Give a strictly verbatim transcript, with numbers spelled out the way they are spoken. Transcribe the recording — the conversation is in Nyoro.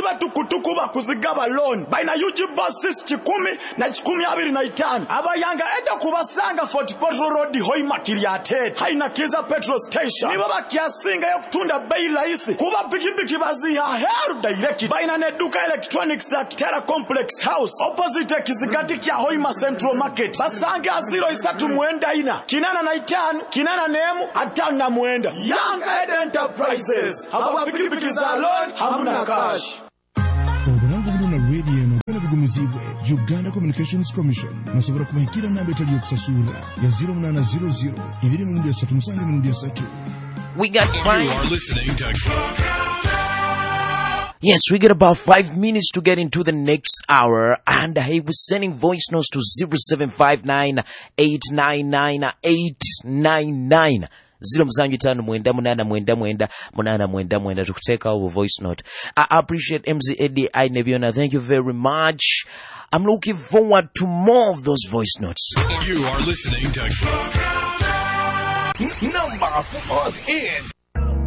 Bazibe tukutuku bakuzigaba loan. Baina U G buses kikumi na kikumi abiri na itano. Abayanga eda kubasanga Fort Portal Road, Hoima, Kiryatete, haina Kiza petrol station. Nibo bakyasingayo kutunda bei rahisi, kuba pikipiki baziha heru direct. Baina neduka electronics at Terra Complex House, opposite kizigati kya Hoima Central Market. Basange aziro isatu mwenda ina kinana na itano kinana nemu atano na mwenda. Young Ed Enterprises, haba pikipiki za loan, hamuna cash. Obulango buno na radio eno byona bigumizibwe Uganda Communications Commission. Musobola kubahikira namba etali yokusasura ya zero munaana zero zero ibiri emirundi esatu musanvu emirundi esatu. We got You five. are listening to Yes, we get about five minutes to get into the next hour. And hey, we're sending voice notes to zero seven five nine eight nine nine eight nine nine. Zero musanju tano mwenda munana mwenda mwenda munana mwenda mwenda tukuteekawo voice note. I appreciate M C Eddie Ainebiona. Thank you very much. I'm looking forward to more of those voice notes. You are listening to Number four in